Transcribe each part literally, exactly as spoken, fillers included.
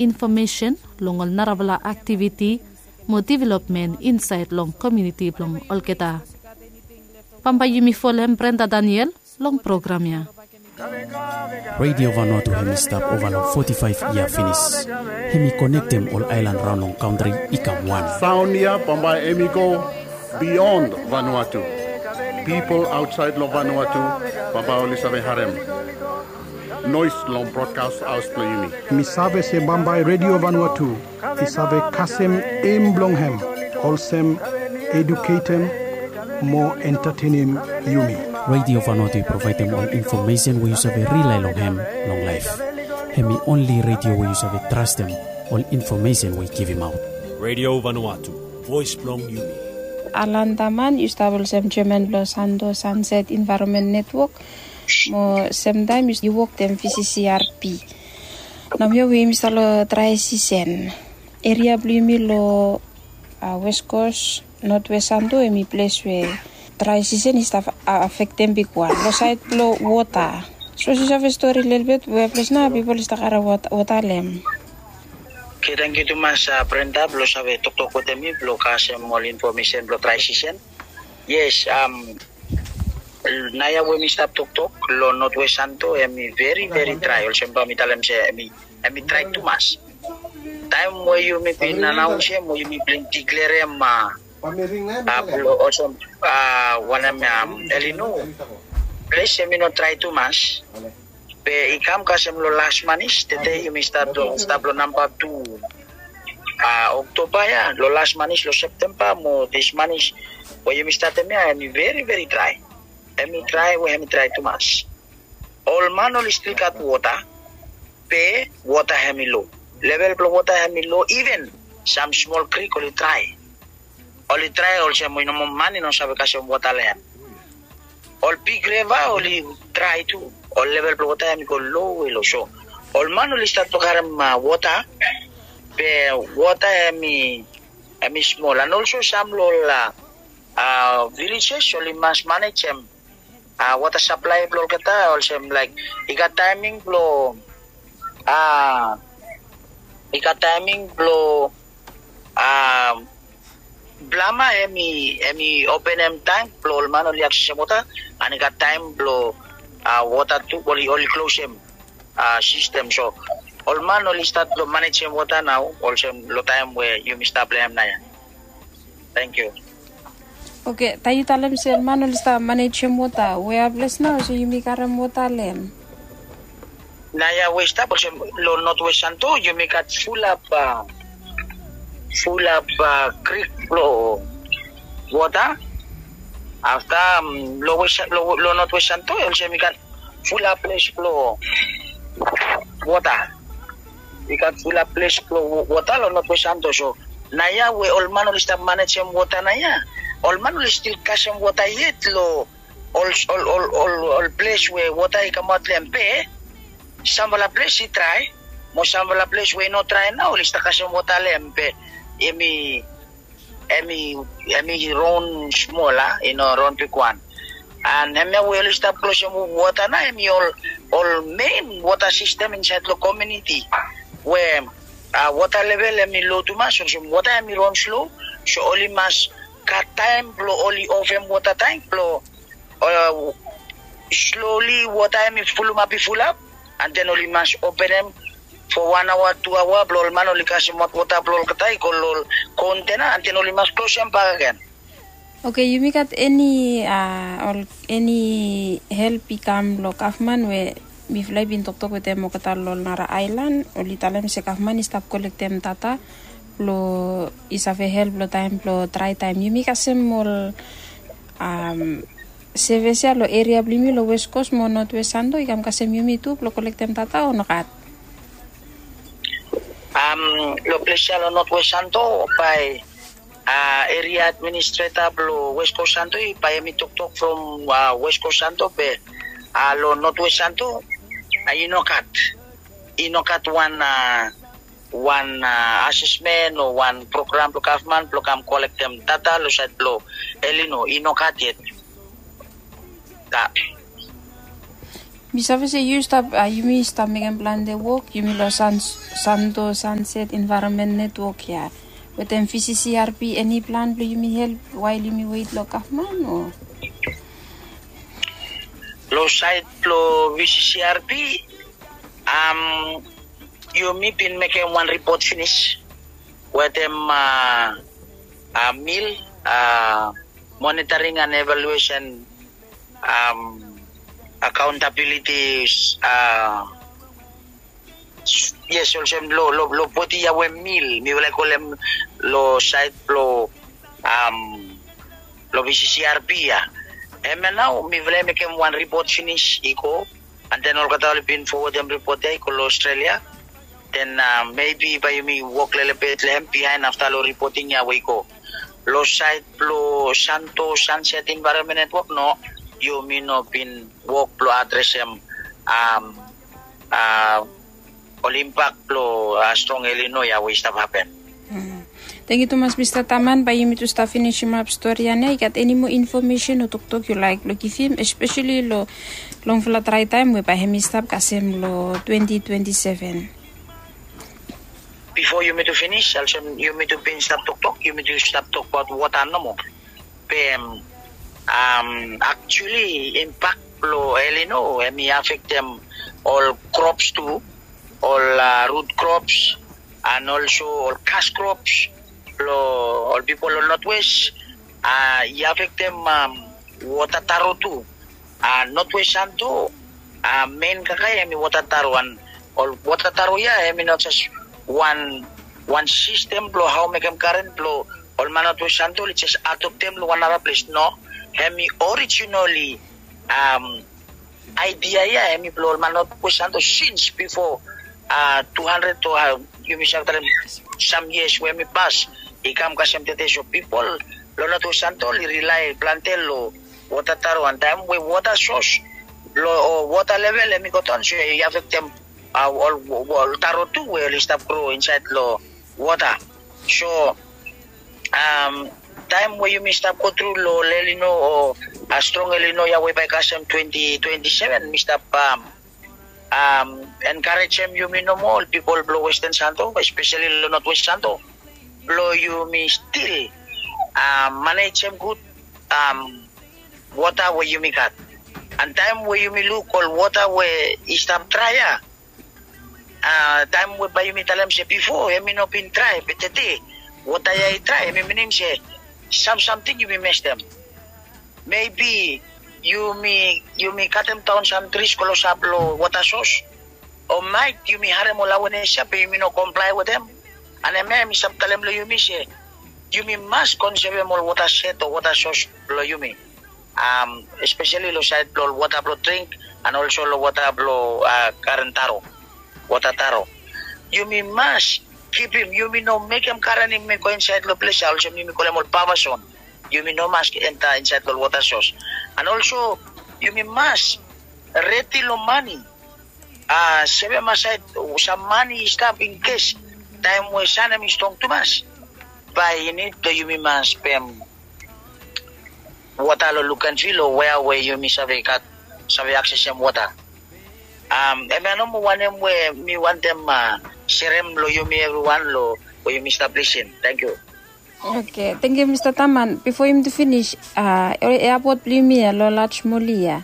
infomesen long ol narafala aktiviti mo developmen insaed long komuniti blong olgeta. Bambae yumi folem Brenda Daniel long program ya. Radio Vanuatu hemi stap ova long foti faef yia finis. Hemi konektem ol aelan raon long kantri i kam wan. Saon ya bambae hemi go bion Vanuatu. Pipol aotsaed long Vanuatu bambae oli save harem noes long brodkas haos blong yumi. Mi save se bambae Radio Vanuatu i save kasem em blong hem olsem eduketem mo entatenem yumi. Radio Vanuatu i provaedem ol infomesen we yu save rilae long hem long laef. Hemi onli radio we yu save trastem ol infomesen we i givimaot. Radio Vanuatu, voes blong yumi. Alan Daman, yu stap olsem jeaman blong Santo Sunset Environment Network, mo semtaem yu wok wetem V C C R P. Nao hemia we yumi stap long drae sisen. Eria blong yumi long West Coast, North West Santo, hemi ples we drae sisen i stap afektem bigwan long saed blong wota. Sapos yu save stori lelebet we ples nao pipol i stap karem wota long hem. Oke, tangkiu tumas Brenda blong save toktok wetem mi blong kasem ol infomesen blong drae sisen. Yes, naoia we mi stap toktok long North West Santo, hemi veri veri drae, olsem bae mi talem se hemi drae tumas. Taem we yumi bin anaonsem o yumi bin diklerem blong olsem wanem, El Nino, ples hemi no drae tumas. Be i kam kasem long las manis, tede yumi stap long namba tu Oktoba ya, long las manis long Septemba mo dis manis we yumi statem ya, hemi veri veri drae. Hemi drae we hemi drae tumas. Ol man oli stil gat wota, be wota hemi lo. Level blong wota hemi lo, iven sam smol krik oli drae. Oli drae olsem we i no moa man i no save kasem wota long hem. Ol big reva oli drae tu. Ol level blong wota hemi go lowe low. So ol man oli stat blong karem wota, be wota hemi smol. An olso sam long ol vilejes oli mas manejem wota saplae blong olgeta, olsem laek i gat taeming blong, i gat taeming blong plama hemi openem tank blong ol man oli aksesem wota, an i gat taem blong wota tu oli klosem sistem. So ol man oli stat blong manejem wota nao olsem long taem we yumi stap long hem naoia. Tangkiu. Oke, taem yu talem se ol man oli stap manejem wota, wea ples nao olsem yumi karem wota long hem? Naoia we i stap olsem long North West Santo yumi gat fulap, fulap krik blong wota. Afta long North West Santo olsem i gat fulap ples blong wota. I gat fulap ples blong wota long North West Santo. So naoia we ol man oli stap manejem wota naoia, ol man oli stil kasem wota yet long ol ples we wota i kamaot long hem. Be samfala ples i drae, mo samfala ples we i no drae nao oli stap kasem wota long hem. Be hemi hemi raon smol, a i no raon bigwan. An hemia we oli stap klosem wota nao hemi ol mein wota sistem insaed long komuniti we wota level hemi lo tumas, olsem wota hemi raon slo. So oli mas gat taem blong oli ofem wota tank blong sloli wota hemi fulumap i fulap, an den oli mas openem fo wan aoa, tu aoa blong ol man oli kasemaot wota blong olgeta i go long ol kontena, an den oli mas klosem bakegen. Oke, yumi gat eni ol eni help i kam long gavman we mifala i bin toktok wetem olgeta long ol nara aelan, oli talem se gavman i stap kolektem data blong i save help long taem blong drae taem. Yumi kasem ol sevis ya long eria blong yumi long West Coast mo North West Santo, i kam kasem yumi tu blong kolektem data o nogat? Long ples ya long North West Santo bae eria administreta blong West Coast Santo i bae hemi toktok from West Coast Santo, be long North West Santo i nogat, i nogat wan wan asesmen o wan program blong gavman blong kam kolektem data long saed blong El Nino, i nogat yet. Mi save se yu stap, yumi stap mekem plante wok, yumi long Santo Sunset Environment Network ya. Wetem V C C R P, eni plan blong yumi help wael yumi wet long gavman o? Long saed blong V C C R P, yumi bin mekem wan ripot finis wetem mil, monitoring and evaluation, accountability. Yes, olsem long bodi ya we mil, mifala i kolem long saed blong long V C C R P ya. Hemia nao mifala i mekem wan ripot finis i go, and then olgeta oli bin fowodem ripot ya i go long Australia. Then maybe bae yumi wok lelebet long hem bihaen afta long ripoting ya we i go. Long saed blong Santo Sunset Environment Network, no, yumi no bin wok blong adresem ol impak blong strong El Nino ya we i stap hapen. Tangkiu tumas Mista Taman, bae yumi tu stap finisimap stori ya nao. I gat eni moa infomesen o toktok yu laek blong givim, espeseli long longfala drae taem we bae hem i stap kasem long twenty twenty seven? Bifo yumi tu finis, olsem yumi tu bin stap toktok, yumi tu stap tokbaot wota nomo. Be actually impak blong El Nino hem i afektem ol krops tu, ol rut krops, and also ol kas krops blong ol pipol long Northwest. I afektem wota taro tu. Northwest Santo, mein kakae hem i wota taro, and ol wota taro ya hem i no jes wan sistem blong hao mekem karen blong ol man Northwest Santo oli jes adoptem long wan nara ples. No, hem i orijinali aedia ya hem i blong ol man Northwest Santo sins bifo tu handred o yumi save talem sam yias we hem i pas i kam kasem tede. So pipol long Northwest Santo oli rilae plante long wota taro, and taem we wota sos long wota level hem i go daon, so i afektem ol taro tu we oli stap gro insaed long wota. So taem we yumi stap go tru long El Nino o strong El Nino ya we bae kasem twenty twenty seven, mi stap enkarejem yumi nomo, ol pipol blong Westan Santo, espeseli long Northwest Santo, blong yumi stil manejem gud wota we yumi gat. And taem we yumi luk ol wota we i stap drae ya, taem we bae yumi talem se bifo hem i no bin drae, be tede wota ya i drae, hem i minim se sam samting yumi mestem. Maybe yumi katem daon sam tris klosap long wota sos, o maet yumi harem ol awenes ya be yumi no komplae wetem. And hemia hem i stap talem long yumi se yumi mas konsevem ol wota set o wota sos blong yumi, espeseli long saed blong ol wota blong dring and olso long wota blong karen taro, wota taro. Yumi mas kipim, yumi no mekem karen hem i go insaed long ples ya olsem yumi kolem ol bafazon. Yumi no mas enta insaed long ol wota sos. And olso yumi mas redi long mane, sevem asaed sam mane i stap inkes taem we san hem i strong tumas, bae i nid blong yumi mas pem wota long Luganville o wea we yumi save gat, save aksesem wota. Hemia nomo wanem we mi wantem serem long yumi evriwan long we yumi stap lisin. Tangkiu. Oke, tangkiu Mista Taman. Bifo yumi tu finis, eapot blong yumi ya long Laj Moli ya,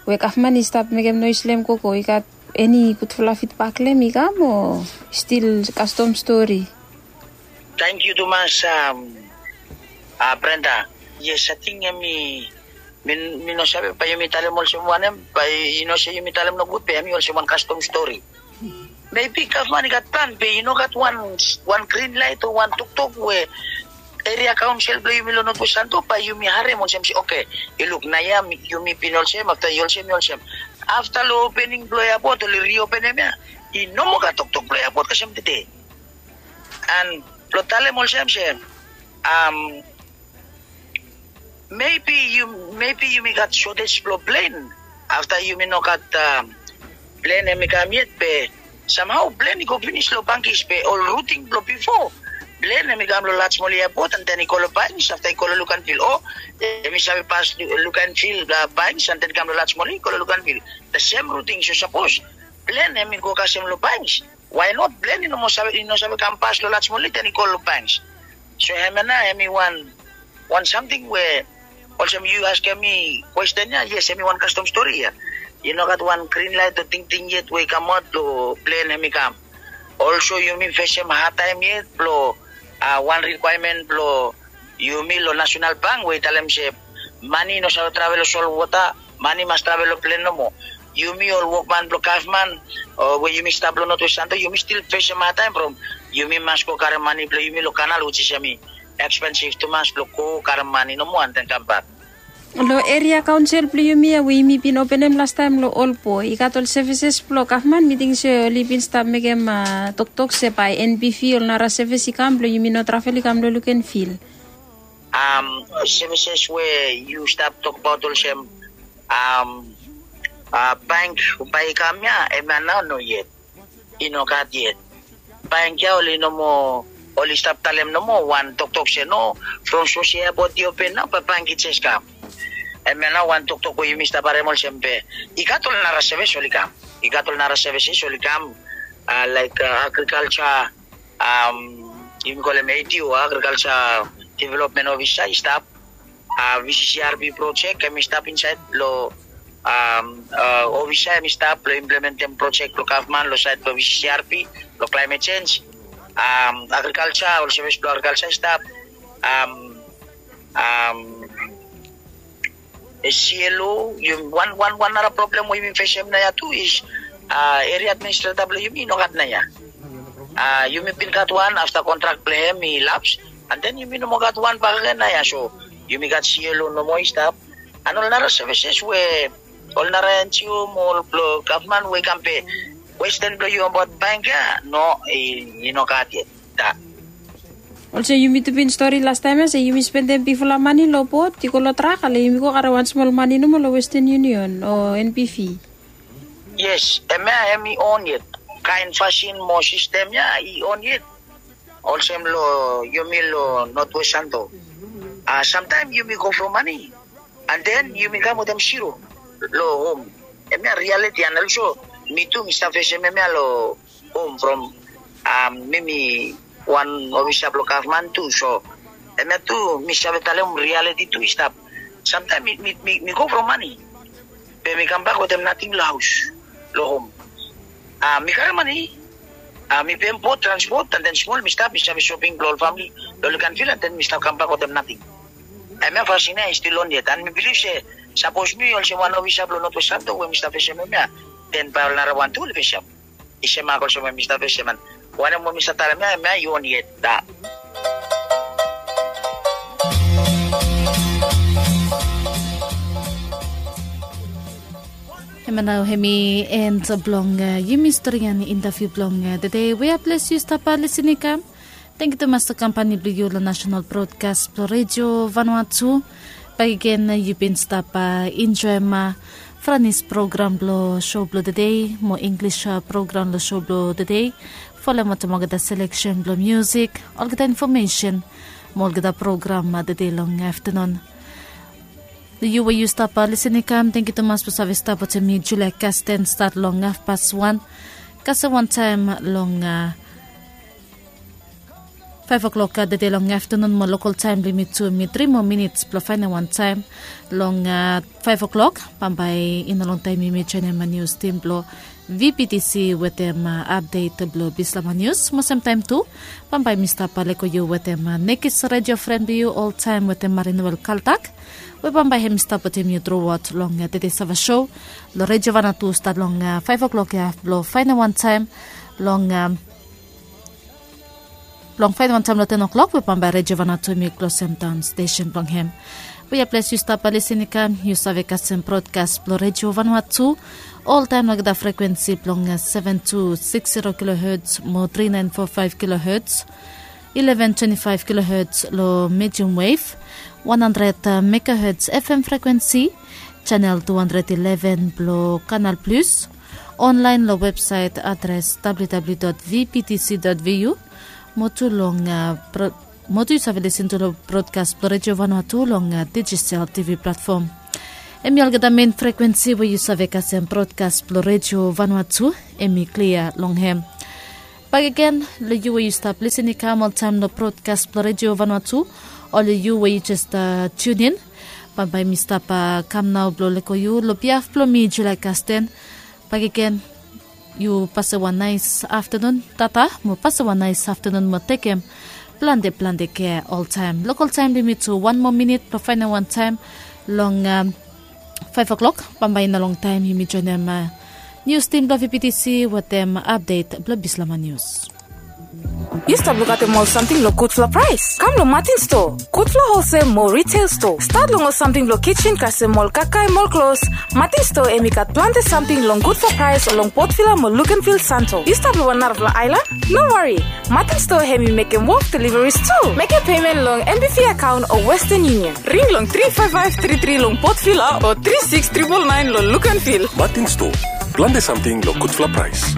we gavman i stap mekem noes long hem gogo, i gat eni gudfala fidbak long hem i kam o stil kastom stori? Tangkiu tumas Brenda. Yes, ating hem i, mi no save bae yumi talem olsem wanem, bae i no se yumi talem nogud be hem i olsem wan kastom stori. Maybe gavman i gat plan be i no gat wan, wan grin laet o wan toktok we eria kaonsel blong yumi long Northwest Santo bae yumi harem olsem se oke, i luk naoia yumi bin olsem, afta i olsem, i olsem. Afta long opening blong eapot oli riopenem ya, i no moa gat toktok blong eapot kasem tede. And blong talem olsem se maybe yumi gat shortage blong plen. Afta yumi no gat plen hem i kam yet be samhao plen i go finis long Bangkis be ol ruting blong bifo Plen em i kam long Lajmoli epot, an ten i go long Bains, afta i go long Luganvil. O em i save pas Luganvil, Bains, an ten i kam long Lajmoli, i go long Luganvil. The same ruting. So sapos plen em i go kasem long Bains, why not plen i no moa save, i no save kam pas long Lajmoli, ten i go long Bains? So hemia nao em i wan wan samting we olsem yu askem mi kwesten ya, yes, em i wan kastom stori ya. I no gat wan grin lait o tingting yet we i kamaot long plen em i kam. Olso yumi fesem hadtaem yet blong wan rikwaemen blong yumi long Nasenal Bank we i talem se mane i no save travel long solwota, mane i mas travel long plen nomo. Yumi ol wokman blong gavman we yumi stap long Notwest Santo, yumi stil fesem hadtaem from yumi mas go karem mane blong yumi long kanal, which is em i ekspensif tumas blong go karem mane nomo an ten kambak. Long eria kaonsel blong yumi ya we yumi bin openem lastaem long Olpo, i gat ol sevises blong gavman? Mi ting se oli bin stap mekem toktok se bae NPV ol nara sevis i kam blong yumi no travel i kam long Luganvil. Sevises we yu stap tokbaot olsem bank bae i kam ya, hemia nao no yet. I no gat yet. Bank ya oli no moa, oli stap talem nomo wan toktok se no, from sapos epot i open nao bae bank i jes kam. Hemia nao wan toktok we yumi stap harem olsem be i gat ol nara sevis oli kam. I gat ol nara sevises oli kam, laek agrikalja, yumi kolem ADO, agrikalja developmen ofisa i stap. VCCRP projek em i stap insaed long ofisa, em i stap blong implementem projek blong gavman long saed blong VCCRP long klaemet jenj. Agrikalja, ol sevis blong agrikalja i stap. CLO, wan wan wan nara problem we yumi fesem naoia tu is eria administreta blong yumi i no gat naoia. Yumi bin gat wan, afta kontrak blong hem i laps, an ten yumi no moa gat wan bakegen naoia. So yumi gat CLO nomo i stap. An ol nara sevises we ol nara NGO mo ol blong gavman we i kam be, kwesten blong yu abaot bank ya, no, i no gat yet. Olsem yumi tu bin stori lastaem ya se yumi spendem bigfala mane long bot i go long trak, ale yumi go karem wan smol mane nomo long Western Union o NPV. Yes, hemia hem i on yet. Kaen fasin mo sistem ya i on yet. Olsem long yumi long Notwest Santo, samtaem yumi go from mane, an ten yumi kam wetem zero long hom. Hemia rialiti. An olso mi tu mi stap fesem hemia long hom from mi mi wan ofisa blong gavman tu. So hemia tu mi save talem rialiti tu i stap. Samtaem mi go from mane, be mi kambak wetem nating long haos, long hom. Mi karem mane, mi pem bot transpot, an ten smol mi stap, mi save soping blong ol famili long Luganvil, an ten mi stap kambak wetem nating. Hemia fasin ya i stil on yet, an mi bilif se sapos mi olsem wan ofisa blong Notwest Santo we mi stap fesem hemia, ten bae ol nara wan tu oli fesem. I semak olsem we mi stap fesem, an wanem we mi stap talem ya, hemia i on yet. Hemia nao hem i en blong yumi stori an intaviu blong tede. We ya ples yu stap lisin i kam. Tangkiu tumas long kampani blong yu long Nasenal Brodkas blong Redio Vanua Tu. Bakegen yu bin stap enjoem Franis program blong so blong tede mo Inglis program long so blong tede. Folem wetem olgeta seleksen blong musik, olgeta infomesen mo olgeta program tede long aftanun. Yu we yu stap lisin i kam, tangkiu tumas blong save stap wetem mi Julia Kasten stat long hafpas wan kasem wantaem long faef oklok tede long aftanun mo lokal taem blong yumi tu, mi tri moa minits blong faenem wantaem long faef oklok. Bambae i no longtaem yumi joenem nius tim blong VPTC wetem apdet blong Bislama Nius. Mo semtaem tu bambae mi stap lego yu wetem nekis redio fren blong yu oltaem wetem Marinwel Kaltak, we bambae hem i stap wetem yu truaot long tede save so long Redio Vanua Tu stat long faef oklok ya blong faenem wantaem long blong faenem wantaem long ten oklok we bambae Redio Vanua Tu hem i klosem daon stesen blong hem. We ya ples yu stap lisin i kam, yu save kasem brodkas blong Redio Vanua Tu oltaem long olgeta frekwensi blong seven two six zero kilohertz mo three nine four five kilohertz, eleven twenty-five kilohertz long medium wave, one hundred megahertz FM frekwensi, channel two hundred eleven blong Canal Plus, onlaen long websaet adres www.vptc.vu, Mo tu long mo tu yu save lisin tu long brodkas blong redio vanua tu long digisel tivi platfom. Em i olgeta men frekwensi we yu save kasem brodkas blong redio vanua tu. Em i klia long hem. Bakegen long yu we yu stap lisin i kam oltaem long brodkas blong redio vanua tu, o long yu we yu jes tiunin, bambae mi stap kam nao blong lego yu long biaf blong mi, Julia Kasten. Bakegen, yu pasem wan naes aftanun tata mo pasem wan naes aftanun mo tekem plante plante kea oltaem. Lokol taem blong yumi tu wan moa minit blong faenem wan taem long faef oklok. Bambae i no longtaem yumi joenem nius tim blong vptc wetem apdet blong bislama nius. Yu stap lukaotem ol samting long gudfala praes? Kam long Martin Store, gudfala holsel mo riteil stoa. Stat long ol samting blong kijen kasem ol kakae mo ol klos. Martin Store em i gat plante samting long gudfala praes long Port Vila mo Luganville, Santo. Yu stap long wan narafala aelan? No wari. Martin Store hem i mekem wok deliveries tu. Mekem pemen long M B V akaon o Western Union. Ring long tri faef faef tri tri long Port Vila o tri siks tripol naen long Luganville. Martin Store, plante samting long gudfala praes.